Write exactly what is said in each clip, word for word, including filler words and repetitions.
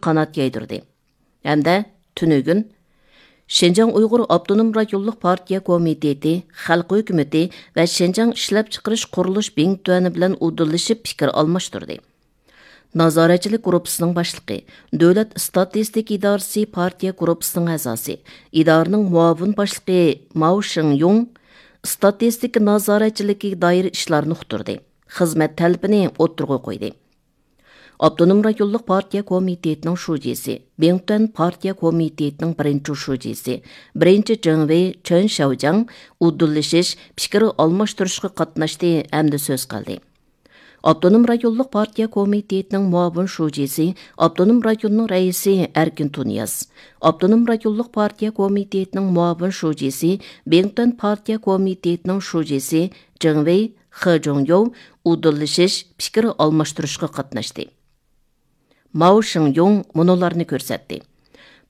قانات يايدۇردى ھەمدە تۈنۈگۈن شىنجاڭ ئۇيغۇر ئاپتونوم رايونلۇق پارتىيە كومىتېتى، خەلق ھۆكۈمىتى ۋە شىنجاڭ ئىشلەپچىقىرىش قۇرۇلۇش بىڭتۈەنى بىلەن ئۇدۇللىشىپ پىكىر ئالماشتۇردى. نازارەتچىلىك گۇرۇپپىسىنىڭ باشلىقى، دۆلەت ئىستاتىستىكا ئىدارىسى پارتىيە گۇرۇپپىسىنىڭ ئەزاسى، ئىدارىنىڭ مۇئاۋىن باشلىقى ماۋ شىڭيۇڭ ئىستاتىستىكا نازارەتچىلىكىگە دائىر ئىشلارنى ئۇقتۇردى، خىزمەت تەلىپىنى ئوتتۇرىغا قويدى. ئاپتونوم رايونلۇق پارتىيە كومىتېتىنىڭ شۇجىسى، بىڭتۈەن پارتىيە كومىتېتىنىڭ بىرىنچى شۇجىسى، بىرىنچى جېڭۋېي چېن شياۋجياڭ ئۇدۇللىشىش، پىكىر ئالماشتۇرۇشقا قاتناشتى ھەمدە سۆز قىلدى. ئاپتونوم رايونلۇق پارتىيە كومىتېتىنىڭ مۇئاۋىن شۇجىسى، ئاپتونوم رايوننىڭ رەئىسى ئەركىن تۇنىياز، ئاپتونوم رايونلۇق پارتىيە كومىتېتىنىڭ مۇئاۋىن شۇجىسى، بىڭتۈەن پارتىيە كومىتېتىنىڭ شۇجىسى جېڭۋېي خې جۇڭيوۋ ئۇدۇللىشىش، پىكىر ئالماشتۇرۇشقا قاتناشتى. ماۋ شىڭيۇڭ مۇنۇلارنى كۆرسەتتى.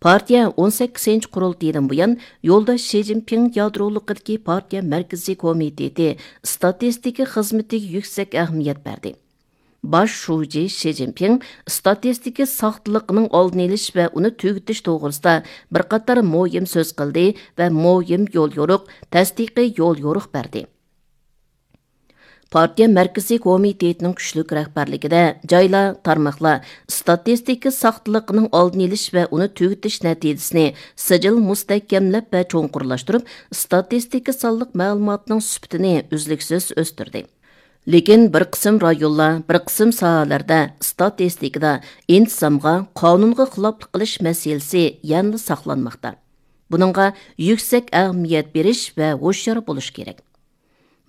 پارتىيە ئون سەككىزىنچى قۇرۇلتىيىدىن بۇيان يولداش شى جىنپىڭ يادرولۇقىدىكى پارتىيە مەركىزىي كومىتېتى ئىستاتىستىكا خىزمىتىگە يۈكسەك ئەھمىيەت بەردى. باش شۇجى شى جىنپىڭ ئىستاتىستىكا ساختىلىقىنىڭ ئالدىنى ئېلىش ۋە ئۇنى تۈگىتىش توغرىسىدا بىر قاتار مۇھىم سۆز قىلدى ۋە مۇھىم يوليورۇق، تەستىقىي يوليورۇق بەردى. پارتىيە مەركىزىي كومىتېتىنىڭ كۈچلۈك رەھبەرلىكىدە جايلار، تارماقلار ئىستاتىستىكا ساختىلىقىنىڭ ئالدىنى ئېلىش ۋە ئۇنى تۈگىتىش نەتىجىسىنى سىجىل مۇستەھكەملەپ ۋە چوڭقۇرلاشتۇرۇپ، ئىستاتىستىكا سانلىق مەلۇماتنىڭ سۈپىتىنى ئۈزلۈكسىز ئۆستۈردى. لېكىن بىر قىسىم رايونلار، بىر قىسىم ساھەلەردە ئىستاتىستىكىدا ئىنتىزامغا، قانۇنغا خىلاپلىق قىلىش مەسىلىسى يەنىلا ساقلانماقتا. بۇنىڭغا يۈكسەك ئەھمىيەت بېرىش ۋە ھوشيار بولۇش كېرەك.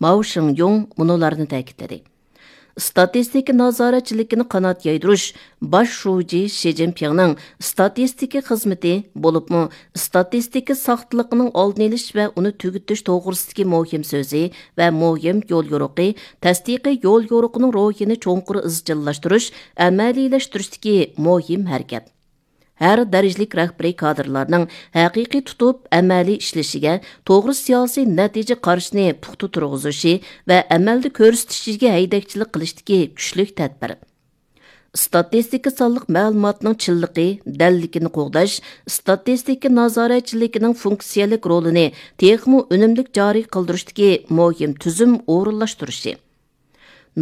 ماۋ شىڭيۇڭ مۇنۇلارنى تەكىتلىدى: ئىستاتىستىكا نازارەتچىلىكىنى قانات يايدۇرۇش باش شۇجى شى جىنپىڭنىڭ ئىستاتىستىكا خىزمىتى، بولۇپمۇ ئىستاتىستىكا ساختىلىقىنىڭ ئالدىنى ئېلىش ۋە ئۇنى تۈگىتىش توغرىسىدىكى مۇھىم سۆزى ۋە مۇھىم يوليورۇقى، تەستىقىي يوليورۇقىنىڭ روھىنى چوڭقۇر ئىزچىللاشتۇرۇش، ئەمەلىيلەشتۈرۈشتىكى مۇھىم ھەرىكەت. ھەر دەرىجىلىك رەھبىرىي كادىرلارنىڭ ھەقىقىي تۇتۇپ ئەمەلىي ئىشلىشىگە، توغرا سىياسىي نەتىجە قارىشىنى پۇختا تۇرغۇزۇشى ۋە ئەمەلدە كۆرسىتىشىگە ھەيدەكچىلىك قىلىشتىكى كۈچلۈك تەدبىر. ئىستاتىستىكا سانلىق مەلۇماتنىڭ چىنلىقى، دەللىكىنى قوغداش، ئىستاتىستىكا نازارەتچىلىكىنىڭ فۇنكسىيەلىك رولىنى تېخىمۇ ئۈنۈملۈك جارى قىلدۇرۇشتىكى مۇھىم تۈزۈم ئورۇنلاشتۇرۇشى.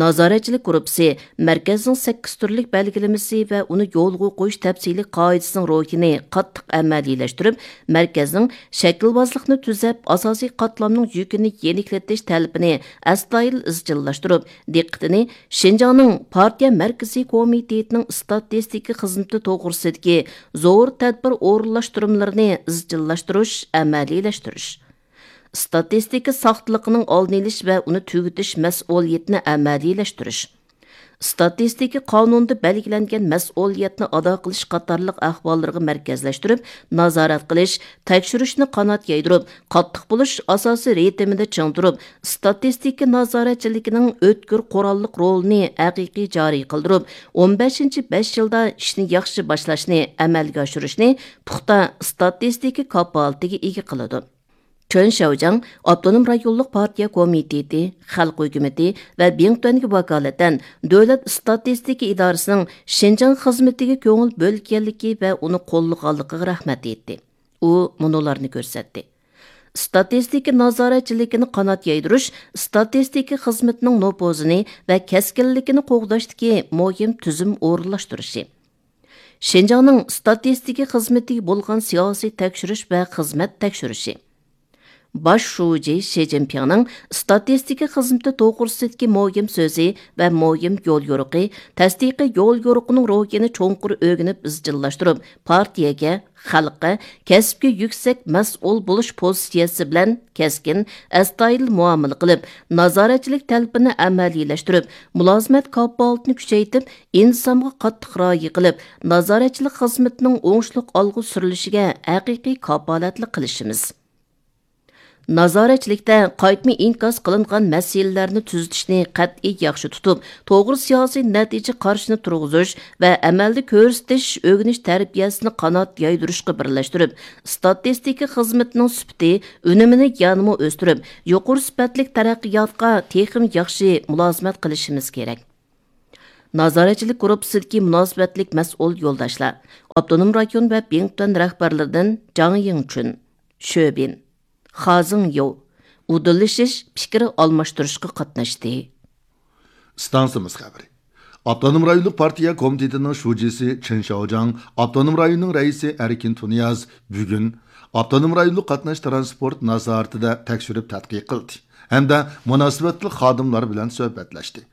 نازارەتچىلىك گۇرۇپپىسى مەركەزنىڭ سەككىز تۈرلۈك بەلگىلىمىسى ۋە ئۇنى يولغا قويۇش تەپسىلىي قائىدىسىنىڭ روھىنى قاتتىق ئەمەلىيلەشتۈرۈپ، مەركەزنىڭ شەكىلۋازلىقنى تۈزەپ، ئاساسىي قاتلامنىڭ يۈكىنى يېنىكلىتىش تەلىپىنى ئەستايىدىل ئىزچىللاشتۇرۇپ، دىققىتىنى شىنجاڭنىڭ پارتىيە مەركىزىي كومىتېتىنىڭ ئىستاتىستىكا خىزمىتى توغرىسىدىكى زور تەدبىر ئورۇنلاشتۇرمىلىرىنى ئىزچىللاشتۇرۇش، ئەمەلىيلەشتۈرۈش. ئىستاتىستىكا ساختىلىقىنىڭ ئالدىنى ئېلىش ۋە ئۇنى تۈگىتىش مەسئۇلىيىتىنى ئەمەلىيلەشتۈرۈش. ئىستاتىستىكا قانۇنىدا بەلگىلەنگەن مەسئۇلىيەتنى ئادا قىلىش قاتارلىق ئەھۋاللىرىغا مەركەزلەشتۈرۈپ، نازارەت قىلىش، تەكشۈرۈشنى قانات يايدۇرۇپ، قاتتىق بولۇش ئاساسىي رىتىمىدا چىڭ تۇرۇپ، ئىستاتىستىكا نازارەتچىلىكىنىڭ ئۆتكۈر قوراللىق رولىنى ھەقىقىي جارى قىلدۇرۇپ، ئون بەشىنچى بەش يىلدا ئىشنى ياخشى باشلاشنى ئەمەلگە ئاشۇرۇشنى پۇختا ئىستاتىستىكا كاپالىتىگە ئىگە قىلىدۇ. چېن شياۋجياڭ ئاپتونوم رايونلۇق پارتىيە كومىتېتى، خەلق ھۆكۈمىتى ۋە بىڭتۈەنگە ۋاكالىتەن دۆلەت ئىستاتىستىكا ئىدارىسىنىڭ شىنجاڭ خىزمىتىگە كۆڭۈل بۆلگەنلىكى ۋە ئۇنى قوللىغانلىقىغا رەھمەت ئېيتتى. ئۇ مۇنۇلارنى كۆرسەتتى: ئىستاتىستىكا نازارەتچىلىكىنى قانات يايدۇرۇش ئىستاتىستىكا خىزمىتىنىڭ نوپۇزىنى ۋە كەسكىنلىكىنى قوغداشتىكى مۇھىم تۈزۈم ئورۇنلاشتۇرۇشى. شىنجاڭنىڭ ئىستاتىستىكا خىزمىتىگە بولغان سىياسىي تەكشۈرۈش ۋە خىزمەت تەكشۈرۈشى. باش شۇجى شى جىنپىڭنىڭ ئىستاتىستىكا خىزمىتى توغرىسىدىكى مۇھىم سۆزى ۋە مۇھىم يوليورۇقى، تەستىقىي يوليورۇقىنىڭ روھىنى چوڭقۇر ئۆگىنىپ ئىزچىللاشتۇرۇپ، پارتىيەگە، خەلققە، كەسىپكە يۈكسەك مەسئۇل بولۇش پوزىتسىيەسى بىلەن كەسكىن، ئەستايىدىل مۇئامىلە قىلىپ، نازارەتچىلىك تەلىپىنى ئەمەلىيلەشتۈرۈپ، مۇلازىمەت كاپالىتىنى كۈچەيتىپ، ئىنتىزامغا قاتتىق رىئايە قىلىپ، نازارەتچىلىك خىزمىتىنىڭ ئوڭۇشلۇق ئالغا سۈرۈلۈشىگە ھەقىقىي كاپالەتلىك قىلىشىمىز. نازارەتچىلىكتە قايتما ئىنكاس قىلىنغان مەسىلىلەرنى تۈزىتىشنى قەتئىي ياخشى تۇتۇپ، توغرا سىياسىي نەتىجە قارىشىنى تۇرغۇزۇش ۋە ئەمەلدە كۆرسىتىش، ئۆگىنىش تەربىيەسىنى قانات يايدۇرۇشقا بىرلەشتۈرۈپ، ئىستاتىستىكا خىزمىتىنىڭ سۈپىتى، ئۈنۈمىنى يەنىمۇ ئۆستۈرۈپ، يۇقىرى سۈپەتلىك تەرەققىياتقا تېخىمۇ ياخشى مۇلازىمەت قىلىشىمىز كېرەك. نازارەتچىلىك گۇرۇپپىسىدىكى مۇناسىۋەتلىك مەسئۇل يولداشلار، ئاپتونوم رايون ۋە بىڭتۈەن رەھبەرلىرىدىن جاڭ يىڭچۈن، شۆبىن، خازىڭ يو، ئۇدۇللىشىش پىكىر ئالماشتۇرۇشقا قاتناشتى. ئىستانسىمىز خەۋىرى. ئاپتونوم رايونلۇق پارتىيە كومىتېتىنىڭ شۇجىسى چېن شياۋجاڭ، ئاپتونوم رايوننىڭ رەئىسى ئەركىن تۇنىياز بۈگۈن ئاپتونوم رايونلۇق قاتناش تىرانسپورت نازارىتىدە تەكشۈرۈپ تەتقىق قىلدى ھەمدە مۇناسىۋەتلىك خادىملار بىلەن سۆھبەتلەشتى.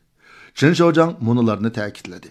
چېن شياۋجاڭ مۇنۇلارنى تەكىتلىدى.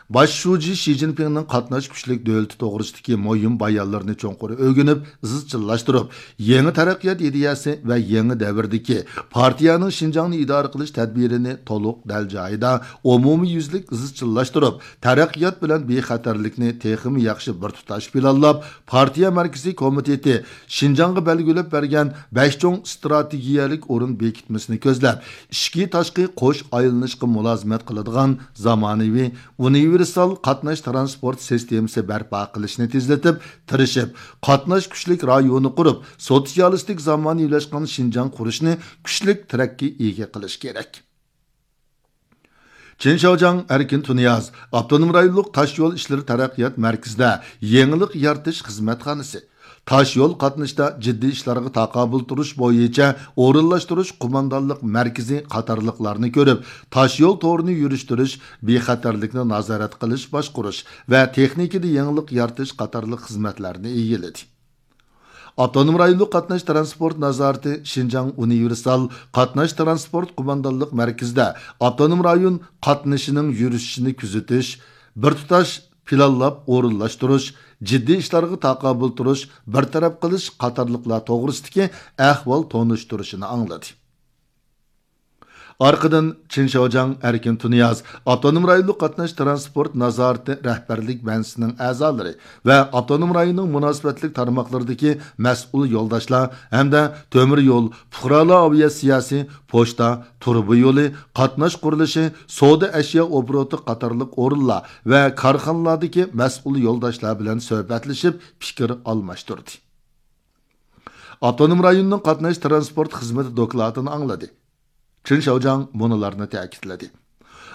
باش شۇجى شى جىنپىڭنىڭ قاتناش كۈچلۈك دۆلىتى توغرىسىدىكى مۇھىم بايانلىرىنى چوڭقۇر ئۆگىنىپ، ئىزچىللاشتۇرۇپ، يېڭى تەرەققىيات ئىدىيەسى ۋە يېڭى دەۋردىكى پارتىيەنىڭ شىنجاڭنى ئىدارە قىلىش تەدبىرىنى تولۇق دەل جايىدا، ئومۇميۈزلۈك ئىزچىللاشتۇرۇپ، تەرەققىيات بىلەن بىخەتەرلىكنى تېخىمۇ ياخشى بىر تۇتاش پىلانلاپ، پارتىيە مەركىزىي كومىتېتى شىنجاڭغا بەلگىلەپ بەرگەن بەش چوڭ ئىستراتېگىيەلىك ئورۇن بېكىتمىسىنى كۆزلەپ، ئىچكى تاشقى قوش ئايلىنىشقا مۇلازىمەت قىلىدىغان زامانىۋى ئۇنىۋېرسال قاتناش تىرانسپورت سىستېمىسى بەرپا قىلىشنى تېزلىتىپ، تىرىشىپ، قاتناش كۈچلۈك رايونى قۇرۇپ، سوتسىيالىستىك زامانىۋىلاشقان شىنجاڭ قۇرۇشنى كۈچلۈك تىرەككە ئىگە قىلىش كېرەك. چېن شياۋجاڭ ئەركىن تۇنىياز ئاپتونوم رايونلۇق تاشيول ئىشلىرى تەرەققىيات مەركىزىدە يېڭىلىق يارىتىش خىزمەتخانىسى، تاشيول قاتنىشىدا جىددىي ئىشلارغا تاقابىل تۇرۇش بويىچە ئورۇنلاشتۇرۇش قوماندانلىق مەركىزى قاتارلىقلارنى كۆرۈپ، تاشيول تورىنى يۈرۈشتۈرۈش بىخەتەرلىكنى نازارەت قىلىش، باشقۇرۇش ۋە تېخنىكىدا يېڭىلىق يارىتىش قاتارلىق خىزمەتلەرنى ئىگىلىدى. ئاپتونوم رايونلۇق قاتناش تىرانسپورت نازارىتى شىنجاڭ ئۇنىۋېرسال قاتناش تىرانسپورت قوماندانلىق مەركىزىدە ئاپتونوم رايون قاتنىشىنىڭ يۈرۈشۈشىنى كۆزىتىش، بىر تۇتاش پىلانلاپ ئورۇنلاشتۇرۇش، جىددىي ئىشلارغا تاقابىل تۇرۇش، بىر تەرەپ قىلىش قاتارلىقلار توغرىسىدىكى ئەھۋال تونۇشتۇرۇشىنى ئاڭلىدى. ئارقىدىن چېن شياۋجاڭ ئەركىن تۇنىياز ئاپتونوم رايونلۇق قاتناش تىرانسپورت نازارىتى رەھبەرلىك بەنزىسىنىڭ ئەزالىرى ۋە ئاپتونوم رايوننىڭ مۇناسىۋەتلىك تارماقلىرىدىكى مەسئۇل يولداشلار ھەمدە تۆمۈر يول، پۇقرالار ئاۋىئاتسىياسى، پوچتا، تۇرۇبا يولى، قاتناش قۇرۇلۇشى، سودا ئەشيا ئوبوروتى قاتارلىق ئورۇنلار ۋە كارخانىلاردىكى مەسئۇل يولداشلار بىلەن سۆھبەتلىشىپ، پىكىر ئالماشتۇردى. ئاپتونوم رايوننىڭ قاتناش تىرانسپورت خىزمىتى دوكلاتىنى ئاڭلىدى. چېن شياۋجاڭ مۇنۇلارنى تەكىتلىدى.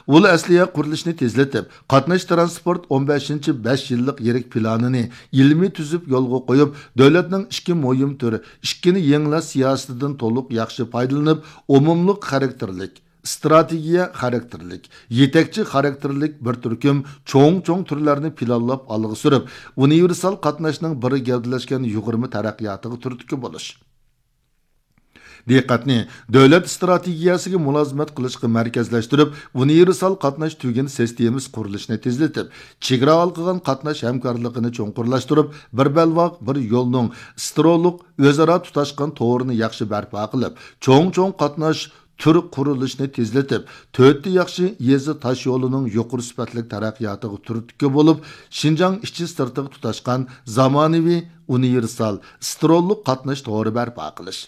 ئۇل ئەسلىھە قۇرۇلۇشىنى تېزلىتىپ، قاتناش تىرانسپورت ئون بەشىنچى بەش يىللىق يىرىك پىلانىنى ئىلمىي تۈزۈپ يولغا قويۇپ، دۆلەتنىڭ ئىككى مۇھىم تۈر، ئىككىنى يېڭىلاش سىياسىتىدىن تولۇق ياخشى پايدىلىنىپ، ئومۇملۇق خاراكتېرلىك، ئىستراتېگىيە خاراكتېرلىك، يېتەكچى خاراكتېرلىك بىر تۈركۈم چوڭ-چوڭ تۈرلەرنى پىلانلاپ ئالغا سۈرۈپ، ئۇنىۋېرسال قاتناشنىڭ بىر گەۋدىلەشكەن يۇغۇرما تەرەققىياتىغا تۈرتكە بولۇش. دىققەتنى دۆلەت ئىستراتېگىيەسىگە مۇلازىمەت قىلىشقا مەركەزلەشتۈرۈپ، ئۇنىۋېرسال قاتناش تۈگۈن سىستېمىسى قۇرۇلۇشىنى تېزلىتىپ، چېگرا ھالقىغان قاتناش ھەمكارلىقىنى چوڭقۇرلاشتۇرۇپ، بىر بەلباغ، بىر يولنىڭ سترولۇق ئۆزئارا تۇتاشقان تورىنى ياخشى بەرپا قىلىپ، چوڭ-چوڭ قاتناش تۈر قۇرۇلۇشىنى تېزلىتىپ، تۆتتە ياخشى يېزا تاش يولىنىڭ يۇقىرى سۈپەتلىك تەرەققىياتىغا تۈرتكە بولۇپ، شىنجاڭ ئىچى سىرتىغا تۇتاشقان زامانىۋى ئۇنىۋېرسال سترولۇق قاتناش تورى بەرپا قىلىش.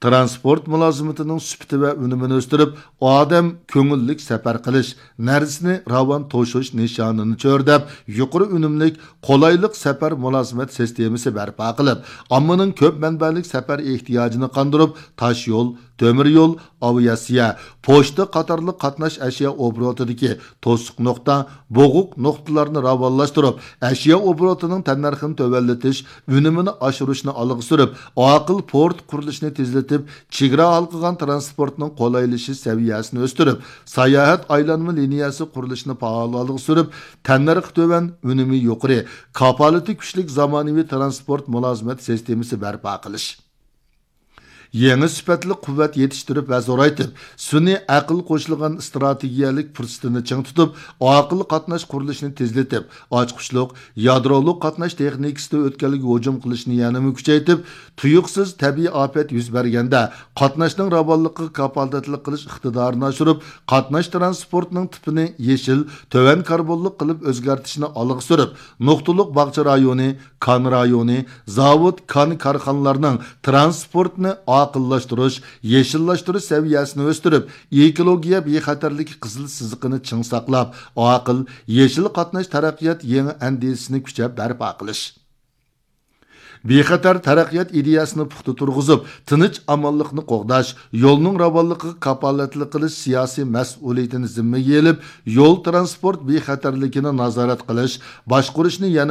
تىرانسپورت مۇلازىمىتىنىڭ سۈپىتى ۋە ئۈنۈمىنى ئۆستۈرۈپ، ئادەم كۆڭۈللۈك سەپەر قىلىش، نەرسىنى راۋان توشۇش نىشانىنى چۆرىدەپ، يۇقىرى ئۈنۈملۈك، قولايلىق سەپەر مۇلازىمەت سىستېمىسى بەرپا قىلىپ، ئاممىنىڭ كۆپ مەنبەلىك سەپەر ئېھتىياجىنى قاندۇرۇپ، تاش يول، تۆمۈر يول، ئاۋىئاتسىيە، پوچتا قاتارلىق قاتناش ئەشيا ئوبوروتىدىكى توسۇق نۇقتا، بوغۇق نۇقتىلارنى راۋانلاشتۇرۇپ، ئەشيا ئوبوروتىنىڭ تەننەرخىنى تۆۋەنلىتىش، ئۈنۈمىنى ئاشۇرۇشنى ئالغا سۈرۈپ، ئاقىل پورت قۇرۇلۇشىنى تېزلىتىپ، چېگرا ھالقىغان تىرانسپورتنىڭ قولايلىشىش سەۋىيەسىنى ئۆستۈرۈپ، ساياھەت ئايلانما لىنىيەسى قۇرۇلۇشىنى پائال ئالغا سۈرۈپ، تەننەرخى تۆۋەن، ئۈنۈمى يۇقىرى، كاپالىتى كۈچلۈك زامانىۋى تىرانسپورت مۇلازىمەت سىستېمىسى بەرپا قىلىش. يېڭى سۈپەتلىك قۇۋۋەت يېتىشتۈرۈپ ۋە زورايتىپ، سۈنئىي ئەقىل قوشۇلغان ئىستراتېگىيەلىك پۇرسىتىنى چىڭ تۇتۇپ، ئاقىل قاتناش قۇرۇلۇشىنى تېزلىتىپ، ئاچقۇچلۇق، يادرولۇق قاتناش تېخنىكىسىدا ئۆتكەلگە ھۇجۇم قىلىشنى يەنىمۇ كۈچەيتىپ، تۇيۇقسىز تەبىئىي ئاپەت يۈز بەرگەندە قاتناشنىڭ راۋانلىقىغا كاپالەتلىك قىلىش ئىقتىدارىنى ئاشۇرۇپ، قاتناش تىرانسپورتىنىڭ تىپىنى يېشىل، تۆۋەن كاربونلۇق قىلىپ ئۆزگەرتىشنى ئالغا سۈرۈپ، نۇقتىلىق باغچە رايونى، كان رايونى، زاۋۇت، كان كارخانىلارنىڭ تىرانسپورتنى ئاقىللاشتۇرۇش، يېشىللاشتۇرۇش سەۋىيەسىنى ئۆستۈرۈپ، ئېكولوگىيە بىخەتەرلىكى قىزىل سىزىقىنى چىڭ ساقلاپ، ئاقىل، يېشىل قاتناش تەرەققىيات يېڭى ئەندىزىسىنى كۈچەپ بەرپا قىلىش. بىخەتەر تەرەققىيات ئىدىيەسىنى پۇختا تۇرغۇزۇپ، تىنچ ئامانلىقنى قوغداش، يولنىڭ راۋانلىقىغا كاپالەتلىك قىلىش سىياسىي مەسئۇلىيىتىنى زىممىگە ئېلىپ، يول تىرانسپورت بىخەتەرلىكىنى نازارەت قىلىش، باشقۇرۇشنى يەنە